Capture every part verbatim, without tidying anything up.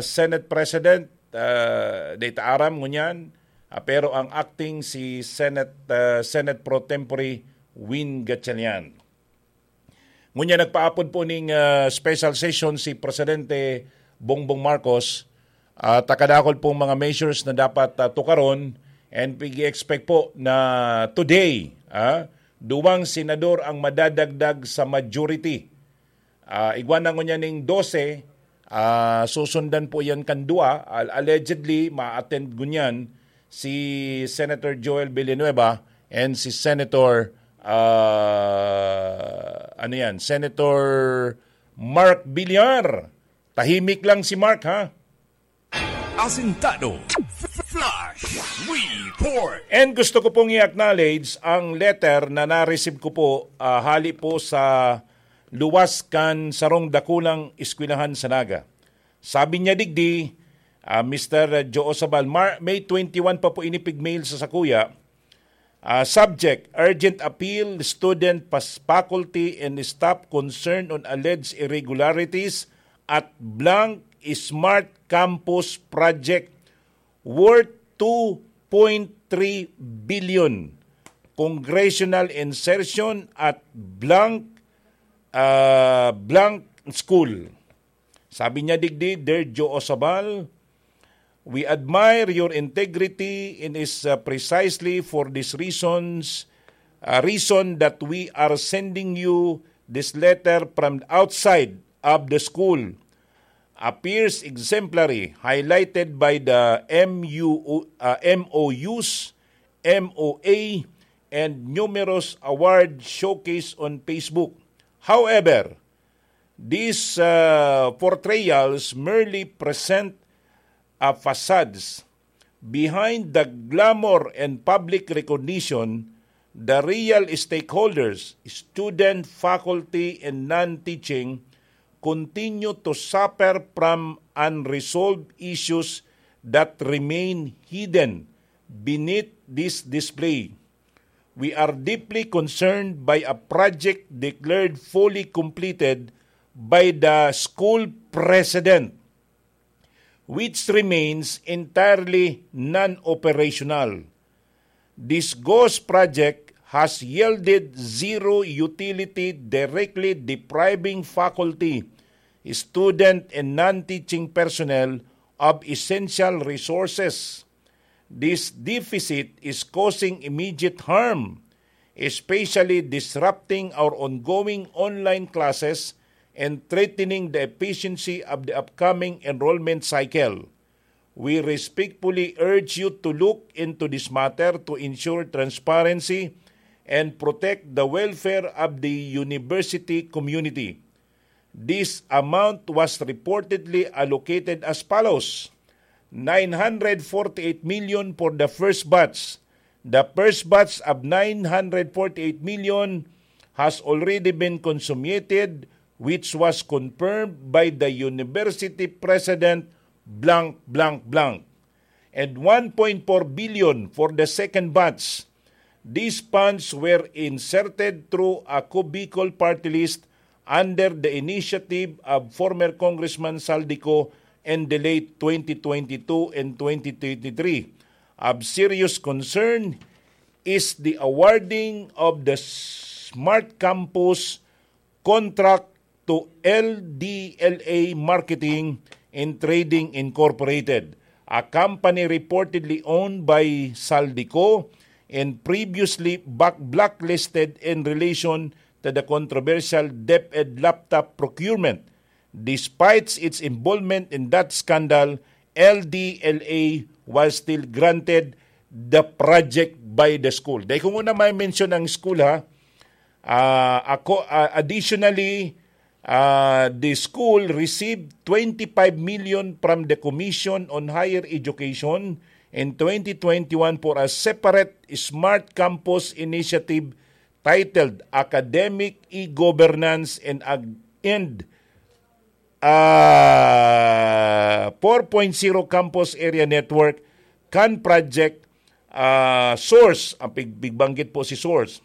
Senate President, ah, dai ta aram ngunyan, ah, pero ang acting si Senate, ah, Senate Pro Tempore Win Gatchalian. Ngunyan nagpaapod po ning, ah, special session si Presidente Bongbong Marcos, ah, ta kadakol pong mga measures na dapat, ah, tukaron, and pig-expect po na today, ah, duwang senador ang madadagdag sa majority. Ah, igwa na ngunyan ning dose, ah, susundan po yan kan dua. Al-, allegedly, ma-attend ngunyan si Senator Joel Villanueva and si Senator, ah, ano yan, Senator Mark Villar. Tahimik lang si Mark, ha? Asintado. Flash Report. And gusto ko pong i-acknowledge ang letter na na-receive ko po, ah, hali po sa luwas kan sarong dakulang eskwelahan sa Naga. Sabi niya digdi, ah, Mister Joe Osabal, Mar-, May twenty-one pa po ini pig-mail sa sakuya, ah, subject, urgent appeal, student, pas-, faculty, and staff concerned on alleged irregularities at blank Smart Campus Project worth two point three billion. Congressional insertion at blank, ah, blank school. Sabi niya digdi, Dear Joe Osabal, we admire your integrity and is, uh, precisely for these reasons, uh, reason that we are sending you this letter from outside of the school. Appears exemplary, highlighted by the M U, uh, M O Us, M O A, and numerous award showcase on Facebook. However, these, uh, portrayals merely present a facades. Behind the glamour and public recognition, the real stakeholders, student, faculty, and non-teaching, continue to suffer from unresolved issues that remain hidden beneath this display. We are deeply concerned by a project declared fully completed by the school president, which remains entirely non-operational. This ghost project has yielded zero utility, directly depriving faculty, student, and non-teaching personnel of essential resources. This deficit is causing immediate harm, especially disrupting our ongoing online classes and threatening the efficiency of the upcoming enrollment cycle. We respectfully urge you to look into this matter to ensure transparency and protect the welfare of the university community. This amount was reportedly allocated as follows: nine hundred forty-eight million for the first batch. The first batch of nine hundred forty-eight million has already been consummated, which was confirmed by the university president, blank, blank, blank. And one point four billion for the second batch. These funds were inserted through a Cubicol party list under the initiative of former Congressman Saldico in the late twenty twenty-two and twenty twenty-three. Of serious concern is the awarding of the Smart Campus contract to L D L A Marketing and Trading Incorporated, a company reportedly owned by Saldico and previously back-, blacklisted in relation to the controversial DepEd laptop procurement. Despite its involvement in that scandal, L D L A was still granted the project by the school. Dai ko muna ma-mention ang school, ha. Ah, ako, ah, additionally, ah, the school received twenty-five million from the Commission on Higher Education in twenty twenty-one for a separate Smart Campus initiative titled Academic E-Governance and Ag-, and, ah, four point zero Campus Area Network, kan project, ah, source, ang pig-, pigbanggit po si source.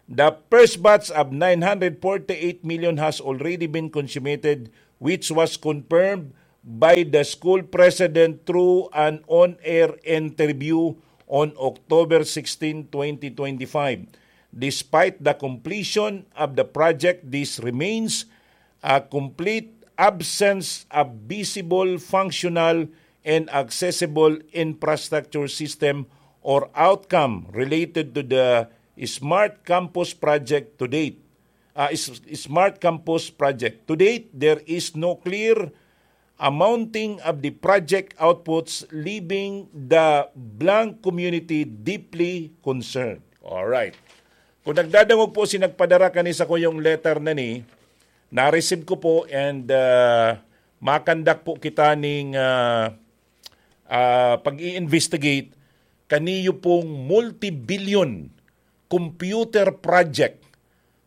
The first batch of nine hundred forty-eight million has already been consummated, which was confirmed by the school president through an on-air interview on October sixteen, twenty twenty-five. Despite the completion of the project, this remains a complete absence of visible, functional, and accessible infrastructure system or outcome related to the Smart Campus project to date. Ah, is-, Smart Campus project. To date, there is no clear amounting of the project outputs, leaving the Blanc community deeply concerned. Alright. Kung nagdadangog po si nagpadara kani sa kuyong letter na ni, na-receive ko po and, ah, makandak po kita ning, ah, ah, pag-i-investigate kaniyo pong multi-billion computer project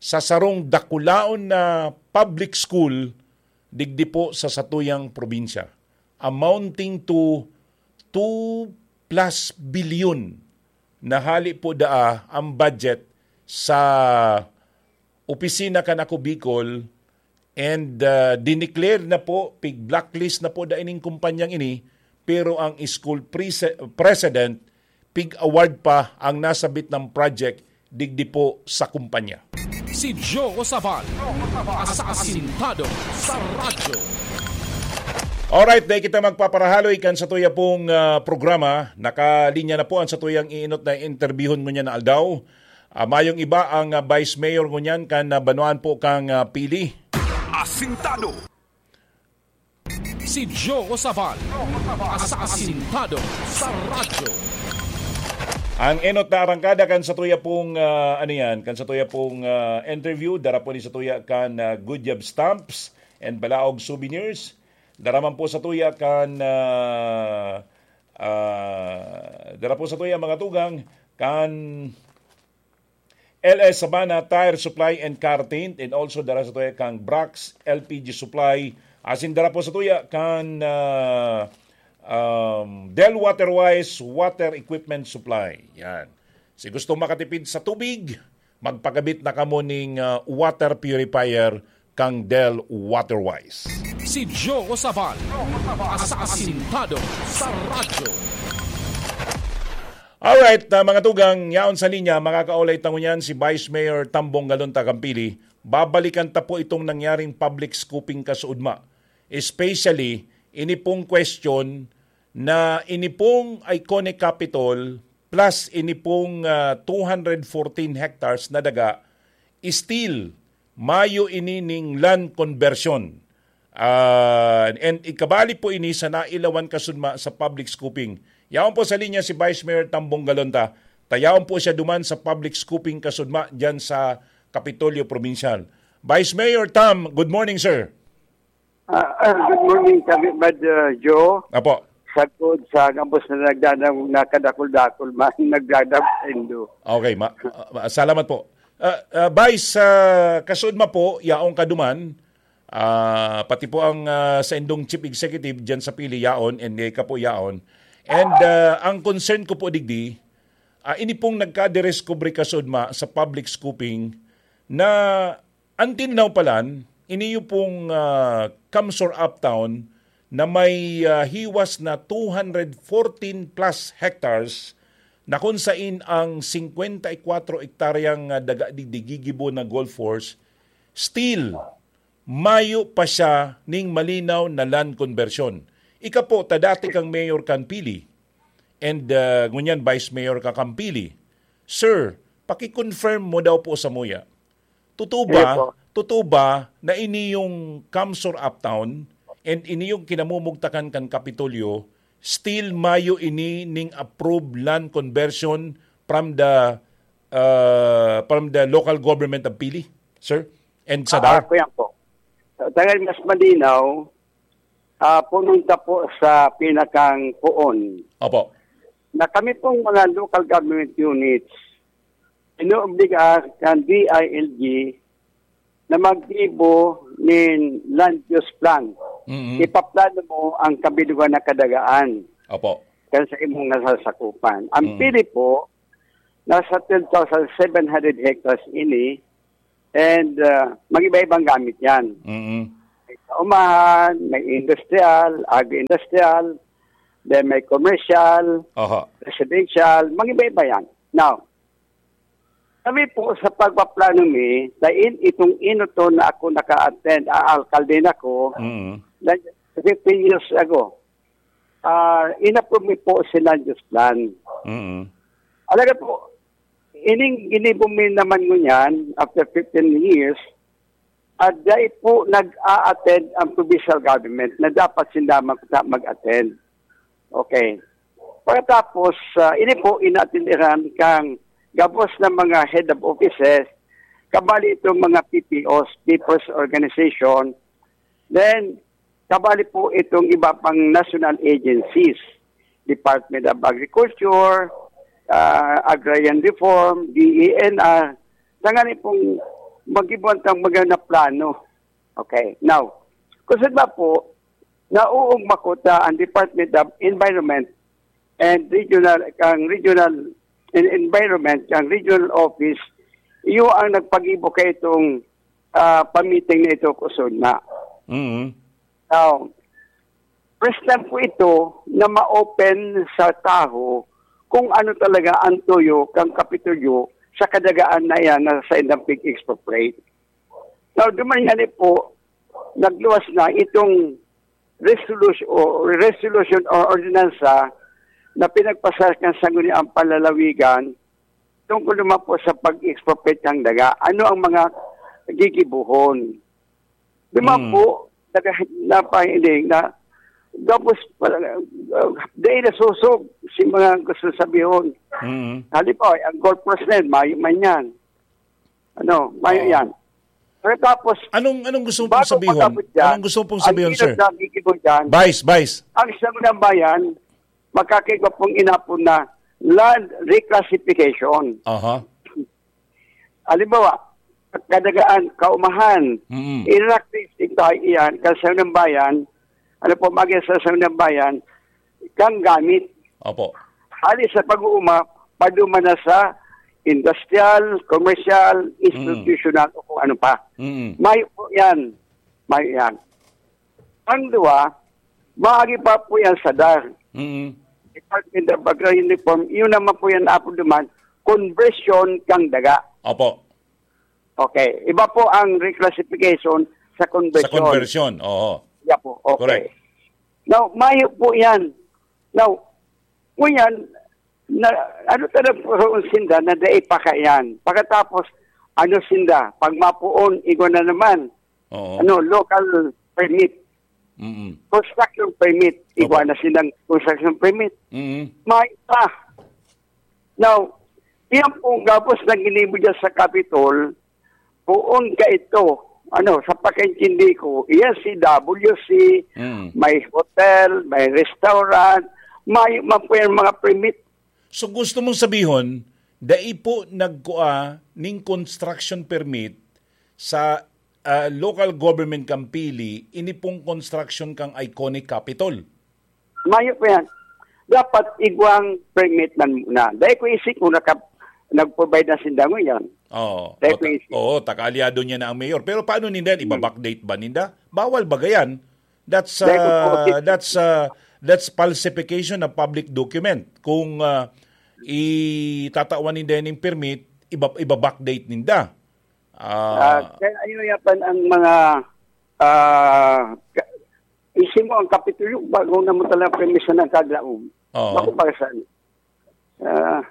sa sarong dakulaon na public school digdi po sa satuyang probinsya, amounting to two plus billion na hali po daa ang budget sa opisina kan Ako Bicol, and, ah, dineclare na po, pig-blacklist na po da ining kumpanyang ini, pero ang school prese-, president, pig-award pa ang nasabit ng project digdi po sa kumpanya. Si Joe Sabal, asasintado sa radyo. Alright, dahil kita magpaparahaloy kan sa tuya pong, ah, programa, nakalinya na po ang sa tuyang iinot na interbyuhon ngunyan na aldaw. Ah, mayong iba ang, ah, Vice Mayor ngunyan kan, ah, banwaan po kang, ah, Pili. Asintado. Si Joe Sabal, asasintado sa radyo. Ang enot na arangkada kan sa tuya pong, ah, ano yan, kan sa tuya pong, ah, interview, dara po ni sa tuya kan, ah, Good Job Stamps and Balaog Souvenirs. Dara man po sa tuya kan, ah, ah, dara po sa tuya mga tugang kan L S Sabana Tire Supply and Car Tint, and also dara sa tuya kang Brax L P G Supply, asin dara po sa tuya kan, ah, um, Del Waterwise Water Equipment Supply. Yan. Si gusto makatipid sa tubig, magpakabit na kamo ning, ah, water purifier kang Del Waterwise. Si Joe Sabal, asasintado sa radyo. Alright, ah, mga tugang, yaon sa linya, makakaulay ta ngunyan si Vice Mayor Tambong Galunta Campili. Babalikan ta po itong nangyaring public scooping kasuodma. Especially, ini pong question na ini pong iconic Capitol plus ini pong, ah, two hundred fourteen hectares na daga, still mayo ini ning land conversion. Ah, and ikabali po ini sa nailawan kasudma sa public scooping. Yaon po sa linya si Vice Mayor Tambong Galonta. Tayaon po siya duman sa public scooping kasudma diyan sa Kapitolyo Provincial. Vice Mayor Tam, good morning, sir. Ah, ah, good morning, Kabibad, ah, Joe. Apo. Sagkod sa gabos na nagdadang nakadakul-dakul man, nagdadang indo. Okay, ma-, ah, salamat po. Ah, ah, Vice, ah, kasuodma po, yaong kaduman, ah, pati po ang, ah, sa indong chief executive dyan sa Pili, yaon, and ika po yaon. And, ah, ang concern ko po digdi, ah, ini pong nagkadiscovery kasuodma sa public scooping na until now palan, iniyo pong, ah, Kamsor Uptown na may, ah, hiwas na two hundred fourteen plus hectares na kung sain ang singkwenta y kwatro ektaryang, ah, daga digdi gigibo na golf course, still, mayo pa siya ning malinaw na land conversion. Ika po, ta dati kang mayor kan Pili, and, ah, ngunyan vice mayor ka kan Pili. Sir, paki-confirm mo daw po sa muya. Totoo ba? Yes po. Totoo ba na ini yung Kamsor Uptown and ini yung kinamumugtakan kan Kapitolyo, still mayo ini ning approved land conversion from the, uh, from the local government of Pili, sir? And Sadar? Ah, kuya po. Sa tagay mas malinaw, ah, punta po sa pinakang poon. Opo. Na kami pong mga local government units, inuobliga kan D I L G na maggibo nin land use plan. Mm-hmm. Ipaplano mo ang kabilugan na kadagaan. Opo. Kan sa imong nasasakupan. Ang Mm. Pili po, nasa twelve thousand seven hundred hectares ini, and, ah, mag-iba-ibang gamit yan. Mm-hmm. Kaumahan, may industrial, agri-industrial, then may commercial, Aha. residential, mag-iba-iba yan. Now, kami po sa pagpaplano mi, dahil itong inoto na ako naka-attend, ah, alkalde na ko, Mm. na fifteen years ago, ah, inapprove mi po si land use plan. Mm. Alaga po, ining ginibo mi naman ngunyan, after fifteen years, at dai po nag-a-attend ang provincial government na dapat sinda mag-, mag-attend. Okay. Pagkatapos, ah, ini po inatindihan kang gabos na mga head of offices, kabali itong mga P P Os, People's Organization, then kabali po itong iba pang national agencies, Department of Agriculture, ah, Agrarian Reform, D E N R, tanganing pong mag-ibuan tang mga na plano. Okay. Now, kung sa iba po, nauugma ko ta ang Department of Environment and Regional, ang Regional en-, Environment, ang Regional Office, iyo ang nagpagibo kay itong, ah, pamiting na ito, kusog na. Mm. Now, first time po ito na ma-open sa tawo kung ano talaga ang tuyo kang Kapitolyo sa kadagaan na iyan na sa indang pig-expropriate. Now, duman nga ni po, nagluwas na itong resolution, o resolution o ordinansa na pinagpasar kan Sangguniang Panlalawigan tungkol naman po sa pag-expropriate ng daga. Ano ang mga gigibuhon? Di ba Mm. po, naga-, napahiling na, tapos, uh, dahil nasusog si mga gusto sabihon. Mm. Halimbawa, ang golf course na yun, mayo man yan. Ano, mayo Oo. yan. Pero tapos, Anong, anong gusto mong bago sabihon? pag-abot dyan, Anong gusto mong ang sabihon, inot sir? na gigibo dyan, Vice, Vice. ang Sangguniang Bayan, makakaigwa pong inapon na land reclassification. Aha. Halimbawa, kadagaan, kaumahan, Mm. i-reclassify iyan, kan Sangguniang Bayan, ano po, maging sa Sangguniang Bayan, kang gamit. Opo. Hali sa pag-uuma, paduma na sa industrial, commercial, Mm. institutional, o kung ano pa. Mm. Mayo po yan. Mayo yan. Ang duwa, maagi pa po yan sa dar. Mm. Department of Agrarian Reform, yun naman po yan, apo duman, conversion kang daga. Opo. Okay. Iba po ang reclassification sa Sa conversion. conversion, oo. Iba po. Okay. Correct. Now, mayo po yan. Now, ngunyan, na, ano talaga po sinda na dai pa kaiyan? Pagkatapos, ano sinda? Pag mapuon, igwa na naman. Oo. Ano, local permit. Mm-mm. Construction permit. Igwa Opo. na silang construction permit. Mm-mm. May pa. Now, iyan pong gabos na ginibo dyan sa Capitol, poon ka ito. Ano, sa pakaintindi ko, iyan si W C, Mm. may hotel, may restaurant, may man po yan mga permit. So, gusto mong sabihon, dai po nagkua ning construction permit sa, ah, local government kan Pili, ini pong construction kang iconic Capitol? Mayo pa yan. Dapat igwang permit man muna. Dai ko isip kung naka-, nag-provide na sinda ngunyan. Oo. Dai O, ko ta-, isip. oo, taka-aliado niya na ang mayor. Pero paano ninda yan? Hmm. Iba-backdate ba ninda? Bawal ba gayan? That's, Dai ko po uh, isip. that's, uh, that's falsification of public document. Kung, uh, itatawan ninda yan yung permit, iba, iba-backdate ninda. Ah, Ah, kaya ayun yapan ang mga, ah, ka-, isip mo ang Kapitolyo, bago na mo talaga permisyon ng kaglaog. Oo. Bako para saan? Ah,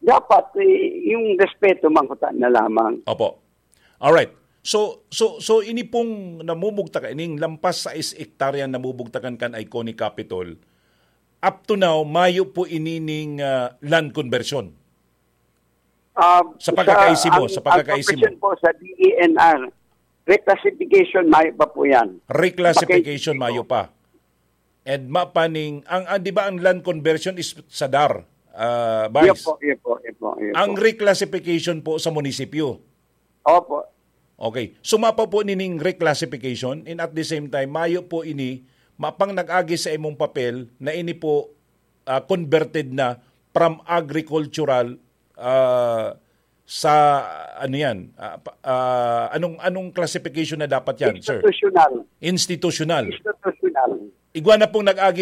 dapat, eh, yung respeto, mangkuta na lamang. Opo. Alright. So, so, so ini pong namumugtakan, ining lampas sais hektarya namumugtakan kan iconic Capitol, up to now, mayo po ini ning, ah, land conversion? Ah, Sa pagkakaisi mo, ang, sa ang pagkakaisi mo. conversion po sa D E N R, reclassification, mayo pa po yan. Reclassification, Paki- mayo pa. And mapaning, ang, ang, di ba ang land conversion is sa dar, ah, Vice? Iyo po, iyo po, iyo po, iyo Ang po. reclassification po sa munisipyo? Opo. Okay. So, mapa po nining reclassification, and at the same time, mayo po ini, mapang nag-agi sa imong papel na ini po, ah, converted na from agricultural, ah, sa, ano yan? Ah, pa- ah, anong anong classification na dapat yan, sir? Institutional. Institutional. Institutional. Igwa na pong nag-agi